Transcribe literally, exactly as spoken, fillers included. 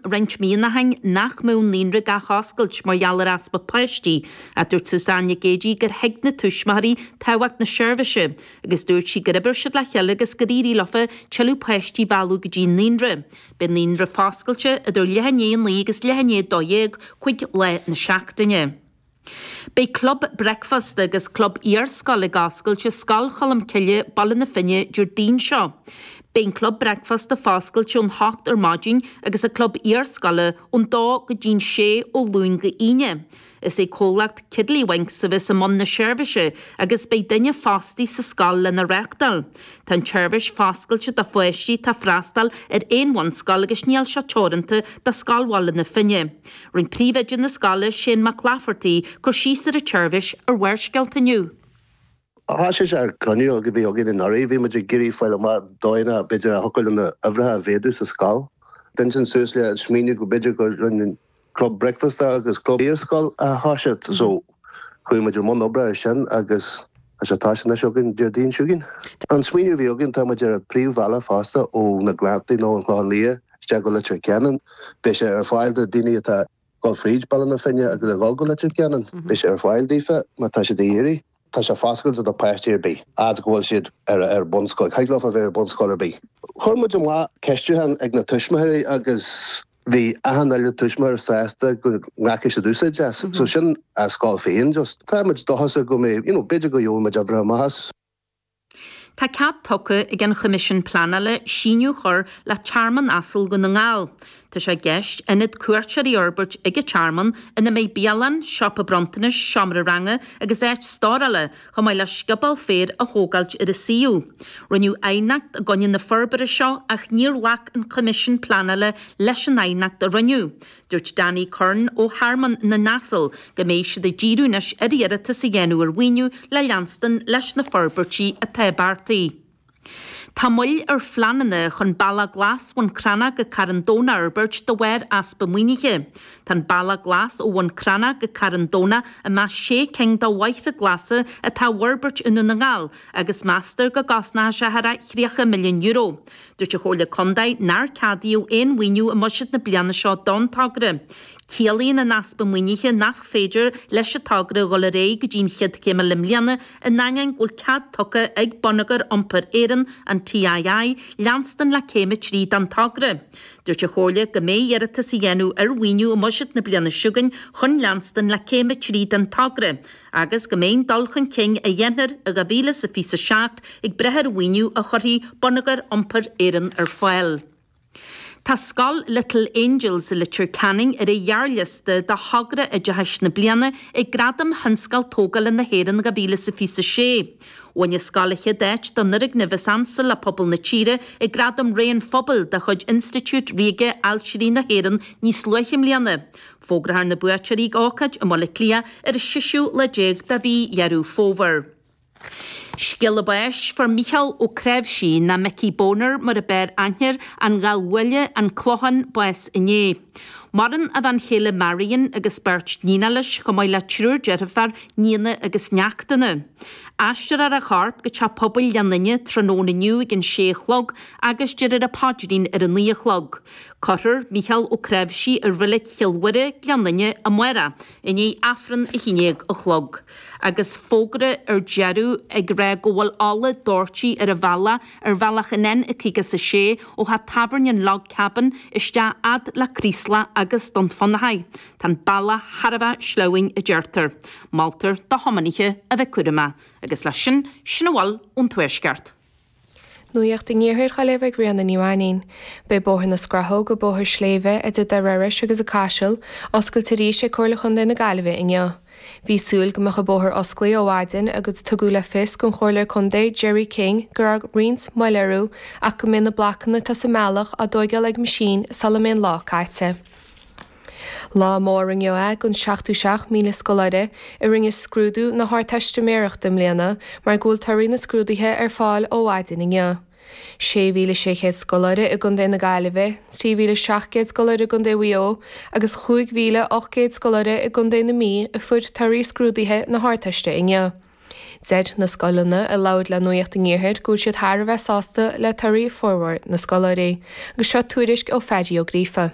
Roinnt míonna ó shin nach mbeadh an naíonra ag athoscailt mar gheall ar easpa páistí, ach dúirt Suzanne Nic Géidigh gur thuig na tuismitheoirí tábhacht na seirbhíse agus dúirt sí gur oibir siad le chéile agus gur éirigh leofa tuilleadh páistí a mhealladh go dtí an naíonra. Beidh an naíonra foscailte idir leath i ndiaidh a naoi agus leath i ndiaidh a dó dhéag cúig lá na seachtaine. Beidh Club Bricfeasta agus Club Iarscoile ag oscailt i Scoil Cholmcille, Baile na Finne, Déardaoin seo. Beidh an Club Bricfeasta foscailte ón hocht ar maidin agus an Club Iarscoile ón dó go dtí'n sé ó Luan go hAoine. Is é comhlacht Kiddlywinks a bheas i mbun na seirbhíse agus beidh duine fostaí sa scoil lena reáchtáil. Tá an tseirbhís foscailte do pháistí atá ag freastal ar aon bhunscoil agus níl sé teoranta do Scoil Bhaile na Finne. Rinne príomhoide na scoile, Shane Mac Laifeartaigh, cur síos ar an tseirbhís ar Bharrscéalta inniu. Thosaigh sé ar cruinniú a bhí againn anuraidh, bhí muid ag iarraidh fáil amach dóigheanna b'fhéidir a thiocfadh linn na huimhreacha a mhéadú sa scoil. D'intinn suas le smaoineamh go b'fhéidir go rinne club bricfeasta agus club iarscoil a thoiseacht so chuaigh muid i mbun oibre ar sin agus tá sé tosaithe anois againn Déardaoin seo chugainn. An smaoineamh a bhí againn tá muid ar an príomhbhealach fosta ó na Gleanntaí nó an Clochán Liath isteach go Leitir Ceanainn. Beidh sé ar fáil do daoine atá ag dul fríd Baile na Finne agus ag dul go Leitir Ceanainn. Beidh sé ar fáil daofa má tá siad ag iarraidh. Tá sé foscailte do páistí ar bith, fhad go bhfuil siad ar ar bunscoil. Thig leo a bheith ar bunscoil ar bith. Chuir muid amach ceistiúchán ag na tuismitheoirí agus bhí achan uile tuismitheoir sásta go nglacfaidh siad úsáid as. So sin a scoil féin just. Tá muid dóchasach go mbeidh, you know, b'fhéidir go gheobhaidh muid uimhreacha maith as. Tá cead tugtha ag an Choimisiún Pleanála síneadh a chur le Tearmann Asal Dhún na nGall. Tá sé i gceist ionad cuairteoirí a fhorbairt ag an tearmann ina mbeidh bialann, siopa bronntanais, seomra ranga agus áit stórála, chomh maith le scioból féir a thógáilt ar an suíomh. Rinneadh aighneacht i gcoinne na forbartha seo ach níor ghlac an Coimisiún Pleanála leis an aighneacht a rinneadh. Dúirt Danny Curran ó Thearmann na nAsal go mbeidh siad ag díriú anois ar iarratas a dhéanamh ar mhaoiniú le leanstan leis na forbairtí atá beartaithe. Tá moill ar phleananna chun Bealach Glas Bhun Cranncha go Carn Domhnach a fhorbairt de bharr easpa maoinithe. Tá an Bealach Glas ó Bhun Cranncha go Carn Domhnach i measc sé cinn de bhóithre glasa atá á bhforbairt i nDún na nGall agus meastar go gcosnóidh sé thar thríocha milliún euro. Dúirt an Chomhairle Contae nár ceadaíodh aon mhaoiniú i mbuiséad na bliana seo don togra. Ciallaíonn an easpa maoinithe nach féidir leis an togra dhul ar aghaidh go dtí an chéad chéim eile i mbliana, in ainneoin go bhfuil cead tugtha ag Bonneagar Iompair Éireann, an TII, leanstan le céim a trí den togra. Dúirt an Chomhairle go mbeidh iarratas á dhéanamh ar mhaoiniú i mbuiséad na bliana seo chugainn chun leanstan le céim a trí den togra, agus go mbeidh an dul chun cinn a dhéanfar i dhá mhíle is a fiche a seacht ag brath ar mhaoiniú a chuirfidh Bonneagar Iompair Éireann ar fáil. Tá Scoil Little Angels i Leitir Ceanainn ar an ghearrliosta do Thogra Oideachais na Bliana ag Gradaim Thionscal Tógála na hÉireann dhá mhíle is a fiche a sé. Bhain an scoil an chéad áit don fhoirgneamh is ansa le pobal na tíre ag Gradaim Ré an Phobail de chuid Institiúid Ríoga Ailtirí na hÉireann níos luaithe i mbliana. Fógrófar na buaiteoirí ag ócáid i mBaile Átha Cliath ar an seisiú lá déag de mhí Dheireadh Fómhair. Scéala báis, Fuair Mícheál Ó Cnáimhsí, nó Micí Boner mar a b'fhearr aithne air, An Ghealbhuaile, An Clochán, bás inné. Maireann a bhean chéile Marion agus beirt níonacha leis, chomh maith le triúr deirfiúr, nianna agus neachtanna. Aistreofar a chorp go Teach Pobail Ghleann Fhinne tráthnóna inniu ag an sé a chlog agus déarfar an paidrín ar a naoi a chlog. Cuirfear Mícheál Ó Cnáimhsí i Reilig Chill Mhuire, Gleann Fhinne, amárach i ndiaidh Aifreann a haon déag a chlog. Agus fógra ar deireadh ag rá go bhfuil ola doirte ar an bhealach ar bhealach an N caoga is a sé ó theach tábhairne an Log Cabin isteach fhad le Creeslough agus Dún Fionnachaidh. Tá an bealach thar a bheith sleamhain a deirtear. Moltar do thiománaithe a bheith cúramach. Agus leis sin, sin a bhfuil ón Tuaisceart. Nuacht an Iarthair á léamh ag Ríona Ní Mhainín. Beidh Bóthar na Scrathóg, bóthar sléibhe idir Doire Iorrais agus an Caiseal, oscailte arís ag Comhairle Chontae na Gaillimhe inniu. Bhí súil go mbeadh an bóthar osclaithe ó mhaidin agus tugadh le fios don Chomhairleoir Contae Jerry King go raibh roinnt moill orthu ach go mbeidh na blocanna atá sa mbealach á dtóigeáil ag meaisín sula mbeidh an lá caite. Lá mór inniu é don seachtó seacht míle scoláire a rinne scrúdú na hArdteistiméireachta i mbliana mar go bhfuil torthaí na scrúduithe ar fáil ó mhaidin inniu. Sé mhíle sé chéad scoláire i gContae na Gaillimhe, trí mhíle seacht gcéad scoláire i gContae Mhaigh Eo agus chúig mhíle ocht gcéad scoláire i gContae na Mí a fuair torthaí scrúduithe na hArdteiste inniu. Deir na scoileanna a labhair le Nuacht an Iarthair go bhfuil siad thar a bheith sásta le torthaí formhór na scoláirí. Agus seo tuairisc ó Phaddy Ó Gríofa.